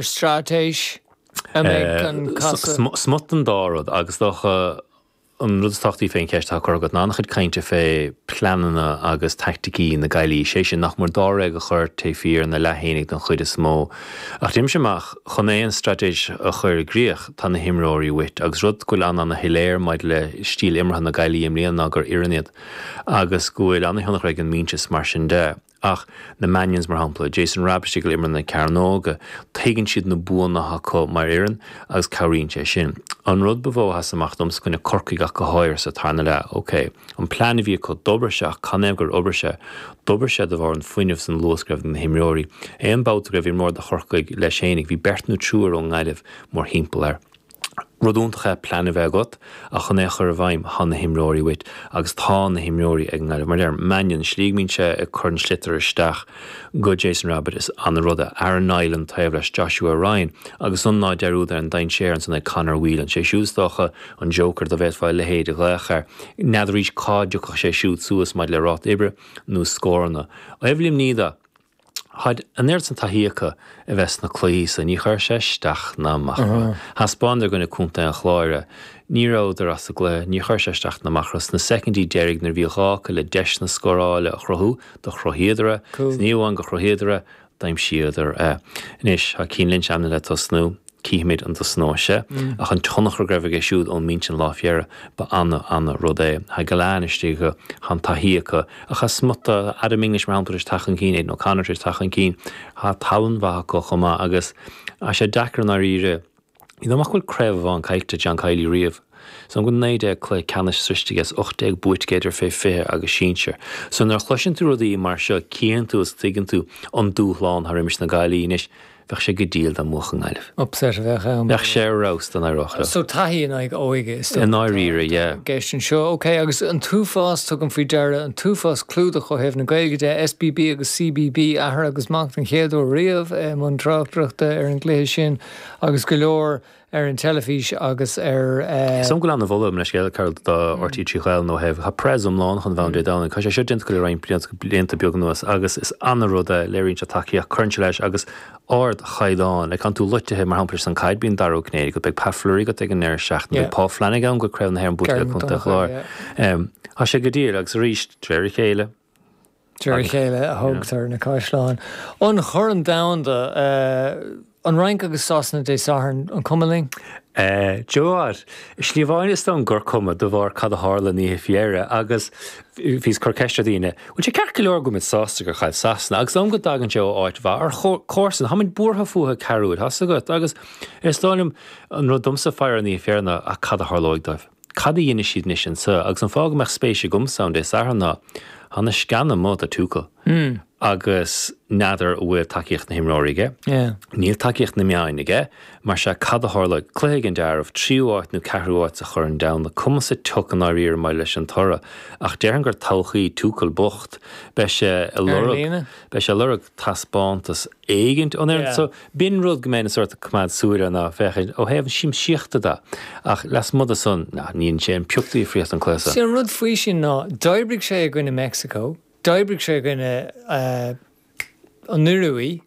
Straitéis a mbeidh an casadh. Smut den dá rud agus is dócha an rud is tábhachtaí fén cheist atá curtha agat ná an-chuid cainte fé pleananna agus taicticí na Gaillí, sé sin nach mór dáréag a chur taobh thiar ina leath fhéinig don chuid is mó. Ach deirimse amach, chun aon straitéis a chur i gcrích, tá na himreoirí uait agus rud go bhfuil an-ana-shoiléir maidir le stíl imeartha na Gaillí i mbliana ná gur fhoireann iad agus go bhfuil ana-thionchar ag an mbinse is mar sin de. Ach na Mannions, mar shampla, Jason Rabbitte ag imirt na cearnóga, tuigeann siad na buanna atá acu mar fhoireann agus cabhraíonn sé sin. An rud ba mhó a sheas amach domsa i gcoinne Corcaigh ach go háirithe sa tarna leath, ok, an plean a bhí acu, d'obair sé ach canathaobh gur obair sé? D'obair sé de bharr an fuinneamh is an luas go raibh ag na himreoirí. Aon babhta go raibh imreoir do Chorcaigh leis fhéinig, bhí beirt nó triúr ón nGaillimh mórthimpeall air. Rud iontach é plean a bheith agat ach chun é a chur i bhfeidhm, tá na himreoirí uait agus tá na himreoirí ag an nGaillimh. Mar a deirim, Mannion, slí go mbíonn sé ag cur an sliotar isteach go Jason Rabbitte, is ana-rud é. Aaron Niland taobh leis, Joshua Ryan agus san ná dearúd ar an dainséar ansan ag Conor Whelan. Sé siúd is dócha an joker dá bhféadfá a leithéid a ghlaoch air. N'fheadar arís cá dtiocfadh sé siúd suas maidir le ráta oibre nó scóranna. Ó thaobh Luimní de. Tháid an oiread san taithí acu a bheith sna cluichí so, ní chuir sé isteach ná amach orthu. Thaispeánadar i gcoinne Contae an Chláir é. Ní rabhadar as an gcluiche, níor chuir sé isteach ná amach orthu. Sna soicindí deiridh nuair a bhí gá acu le deiseanna scórála a chruthú, do chruthaíodar é. Is ní amháin go chruthaíodar é, d'aimsíodar é. Anois, tá Cian Lynch ainmnithe le tosnú. Cífimid an dtosnóidh sé. Ach an tionchar go raibh aige siúd ón mbinse an lá fé dheireadh, ba ana, ana rud é. Tá Gillane istigh acu, tá an taithí acu. Ach tá smut, Adam English mar shampla tar éis teacht chun cinn, Aidan O'Connor tar éis teacht chun cinn. Tá tallann mhaith acu chomh maith agus tá sé deacair i ndáiríre. Ní dóigh liom ach go bhfuil craobh amháin caillte ag John Kiely riamh. Is dóigh liom go bhfuil 19 cluiche ceannais sroichte aige is 18 buaite aige idir fé 20 agus sinsir. So nuair a chloiseann tú rudaí mar seo cíonn tú is tuigeann tú an dúshlán atá roimis na Gaillí anois. Bheadh sé go diail dá mbuafadh an Ghaillimh. Upset a bheadh ann. Bheadh sé ar fheabhas dá n-éireodh leo. So taithí in aghaidh óige is dócha. I ndáiríre, yeah. I gceist anseo. Ok, agus an t-uafás, tugaim faoi deara, an t-uafás clúdach ó thaobh na Gaeilge de, SBB agus CBB, athair agus mac den chéad uair riamh i mbun tráchtaireachta ar an gcluiche sin agus go leor ar an teilifís agus ar. Is dóigh liom go bhfuil ana-mholadh, mo leithscéal, Carol, do RTÉ 3 Ghaelainn ó thaobh, tá prez iomlán chun bheith ann Dé Domhnaigh. Tá sé seo déanta acu le roinnt blianta, blianta beaga anuas agus is ana-rud é, léiríonn sé tacaíocht, cuireann sé leis agus ardchaighdeán. Like, tánn tú loitithe, mar shampla, leis an caid, bíonn Dara Ó Cinnéide agat, beidh Pat Fleury agat ag an ndeireadh seachtaine, beidh Paul Flanagan ann go Craobh na hÉireann buaite le Contae an Chláir. Tá sé go diail agus arís, de réir a chéile, De réir a chéile a thógtar na caisleáin. An Corn Domhanda, an Fhrainc agus Sasana Dé Sathairn, an cuma linn? Joe, slí amháin is dóigh gur cuma de bharr cad a tharla an oíche faoi dheireadh agus bhíos ag cur ceist ar dhaoine, bhfuil sé ceart go leor go bhfuil muid sásta gur chaill Sasana agus is dóigh liom go dtagann sé ó áit mhaith ar chomharsan, tá muid buartha fúthu ceathrú uair, tá's agat agus is dóigh liom an rud domsa faoi an oíche faoi dheireadh ná ach cad a tharlóidh dóibh? Cad a dhéanfaidh siad anois anseo? Agus an fáth go mbeadh spéis agamsa ann Dé Sathairn ná, tá na sceana amuigh do Tuchel. Agus n'fheadar an bhfuil tacaíocht na himreoirí aige. Níl tacaíocht na meáin aige. Mar sea, cad a tharlóidh? Cluiche ag an dealramh, tríú áit nó ceathrú áit sa Chorn Domhanda. Cuma sa tsioc i ndáiríre maidir leis an toradh. Ach déarfainn gur todhchaí Tuchel bocht. Beidh sé ag lorg, beidh sé ag lorg taispeántas éigint ón fhoireann. So, B'in rud go mbeinn sórt ag coimeád súil air ná féachaint ó thaobh an siamsaíochta de, ach lasmuigh de san, ná, ní dhéanann sé aon pioc difríocht an cluiche seo. See an rud faoi sin ná, d'oibrigh sé i gcoinne Meicsiceo, d'oibrigh sé i gcoinne an Ioruaí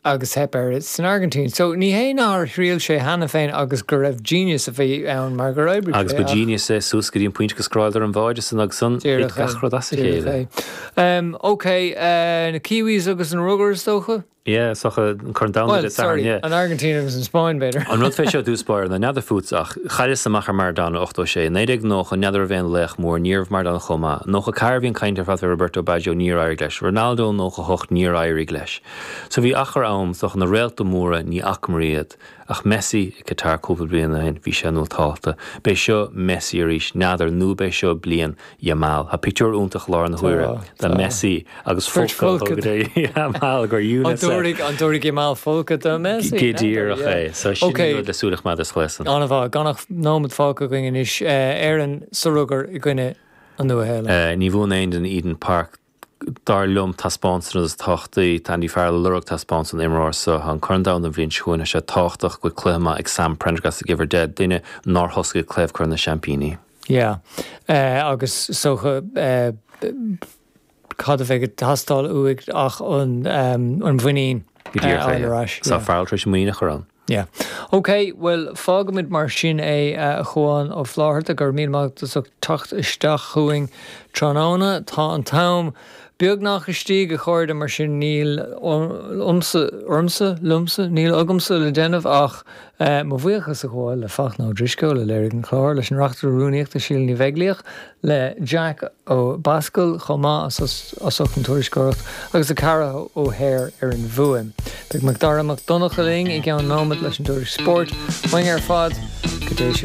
agus theip air san Airgintín. So ní hé nár thriail sé cheana féin agus go raibh genius a bhí ann mar gur oibrigh sé Agus ba genius é suas go dtí an pointe go scóráladar an báide san agus san, thit gach rud as a chéile. Ok, na Kiwis agus an rugar is dócha? Yeah, is dócha, an Corn Domhanda Dé Sathairn, yeah. An Airgintín agus an Spáinn, b'fhéidir. An rud fé seo i dtús báire ná n'fheadar fútsa ach chailleas amach ar Maradona 86. 1990, n'fheadar arbh é an laoch mór, ní raibh Maradona chomh maith. 94 bhí an caint ar fad fé Roberto Baggio, níor éirigh leis. Ronaldo 98, níor éirigh leis. So bhí achar am, is dócha na réalta móra, ní fhacamar iad. Ach Messi i Qatar cúpla bliain ó shin, bhí sé nótálta. B'é seo Messi arís, n'fheadar, nó b'é seo bliain Yamal. Tá pictiúr iontach i láthair na huaire de Messi agus folcadh á thabhairt do Yamal gur UNICEF. An dtabharfaidh Yamal folcadh do Messi? Go díreach é. So sin an rud le súil a choimeád ar sa chluiche san. An-mhaith. Gan ach nóiméad fágtha againn anois. Éirinn sa rugar i gcoinne an Nua-Shéalainn. Ní bhuann aon duine Eden Park. Dar liom, taispeántas an rud is tábhachtaí. Tá Andy Farrell ag lorg taispeántas ón imreoir so. Tá an Corn Domhanda an bhliain seo chugainn. Tá sé tábhachtach go bhfuil cluiche maith ag Sam Prendergast ag uimhir 10, duine nár thosaigh ag cluiche Chorn na Seaimpíní. Yeah. Agus is dócha cad a bheidh ag teastáil uaidh ach an mhuinín. Go díreach é, yeah. Tá Farrell tar éis muinín a chur ann. Yeah. Ok, bhuel, fágfaimid mar sin é, a Chuáin Ó Flatharta, go raibh míle maith agat as ucht teacht isteach chugainn tráthnóna. Tá an t-am beagnach istigh, a chairde, mar sin níl ormsa, ormsa, liomsa, níl agamsa le déanamh ach mo bhuíochas a ghabháil le Fachtna Ó Drisceoil a léirigh an clár, leis an Reachtaire Rúnaíochta Síle Ní Bheaglaoich, le Jack Ó Bascail chomh maith as ucht an tuairisceoireacht agus le Ceara O'Hare ar an bhfuaim. Beidh Macdara Mac Donncha linn i gceann nóiméad leis an dtuairisc spóirt. Uainn ar fad, go dté sibh.